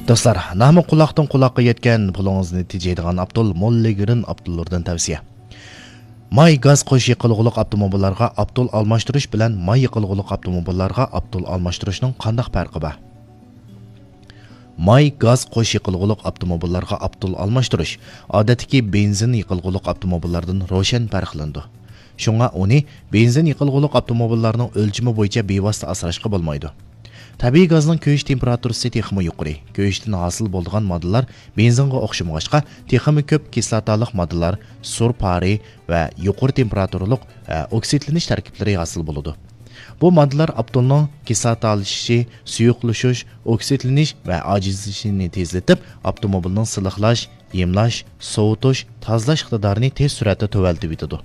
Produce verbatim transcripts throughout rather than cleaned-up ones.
دوستلار، نامى قۇلاقتىن قۇلاققا يەتكەن، پۇلىڭىزنى تېجەيدىغان ئاپتول موللىگرىن ئاپتوللىرىدىن تەۋسىيە. ماي گاز قوش يېقىلغۇلۇق ئاپتوموبىللارغا ئاپتول ئالماشتۇرۇش بىلەن ماي يېقىلغۇلۇق ئاپتوموبىللارغا ئاپتول ئالماشتۇرۇشنىڭ قانداق پەرقى بار؟ ماي گاز قوش يېقىلغۇلۇق ئاپتوموبىللارغا ئاپتول ئالماشتۇرۇش ئادەتتىكى بېنزىن يېقىلغۇلۇق ئاپتوموبىللاردىن روشەن پەرقلىنىدۇ. شۇڭا ئۇنى بېنزىن يېقىلغۇلۇق ئاپتوموبىللارنىڭ ئۆلچىمى بويىچە بىۋاسىتە ئاسراشقا بولمايدۇ. تەبىئىي گازنىڭ كۆيۈش تېمپېراتۇرىسى تېخىمۇ يۇقىرى. كۆيۈشتىن ھاسىل بولىدىغان ماددىلار بېنزىنغا ئوخشىمىغاچقا، تېخىمۇ كۆپ كىسلاتالىق ماددىلار، سۇر پارى ۋە يۇقىرى تېمپېراتۇرىلىق، ئە، ئوكسىدلىنىش تەركىبلىرى ھاسىل بولىدۇ. بۇ ماددىلار ئاپتولنىڭ كىسلاتالىشىشى، سۇيۇقلىشىش، ئوكسىدلىنىش ۋە ئاجىزلىشىشىنى تېزلىتىپ، ئاپتوموبىلنىڭ سىلىقلاش، يېمىلاش، سوۋۇتۇش، تازىلاش ئىقتىدارىنى تېز سۈرئەتتە تۆۋەنلىتىۋېتىدۇ.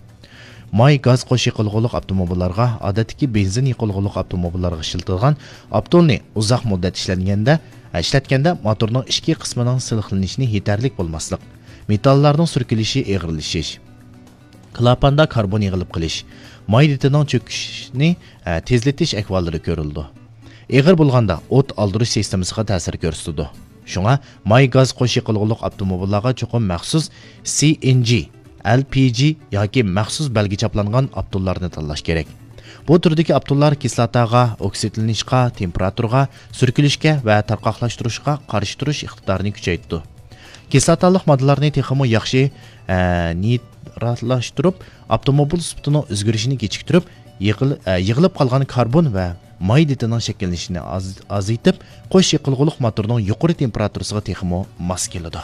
ماي گاز قوش يېقىلغۇلۇق ئاپتوموبىللارغا ئادەتتىكى بېنزىن يېقىلغۇلۇق ئاپتوموبىللارغا ئىشلىتىدىغان ئاپتولنى ئۇزاق مۇددەت ئىشلەنگەندە، ئىشلەتكەندە موتورنىڭ ئىچكى قىسمىنىڭ سىلىقلىنىشىنى يېتەرلىك بولماسلىق، مېتاللارنىڭ سۈركىلىشى ئېغىرلىشىش، كلاپاندا كاربون يىغىلىپ قېلىش، ماي دېتىنىڭ چۆكۈشىنى، ئە، تېزلىتىش ئەھۋاللىرى كۆرۈلىدۇ. ئېغىر بولغاندا ئوت ئالدۇرۇش سىستېمىسىغا تەسىر كۆرسىتىدۇ. شۇڭا ماي گاز قوش يېقىلغۇلۇق ئاپتوموبىللارغا چوقۇم مەخسۇس سى ئېن جى، ئەل پى جى ياكى مەخسۇس بەلگە چاپلانغان ئاپتوللارنى تاللاش كېرەك. بۇ تۈردىكى ئاپتوللار كىسلاتاغا، ئوكسىدلىنىشقا، تېمپېراتۇرىغا، سۈركىلىشكە ۋە تارقاقلاشتۇرۇشقا قارشى تۇرۇش ئىقتىدارىنى كۈچەيتىدۇ. كىسلاتالىق ماددىلارنى تېخىمۇ ياخشى، ئە، نىتراتلاشتۇرۇپ، ئاپتوموبىل سۈپىتىنىڭ ئۆزگىرىشىنى كېچىكتۈرۈپ، يىغىل-، ئە، يىغىلىپ قالغان كاربون ۋە ماي دېتىنىڭ شەكىللىنىشىنى ئاز-، ئازىيتىپ، قوش يېقىلغۇلۇق موتورنىڭ يۇقىرى تېمپېراتۇرىسىغا تېخىمۇ ماس كېلىدۇ.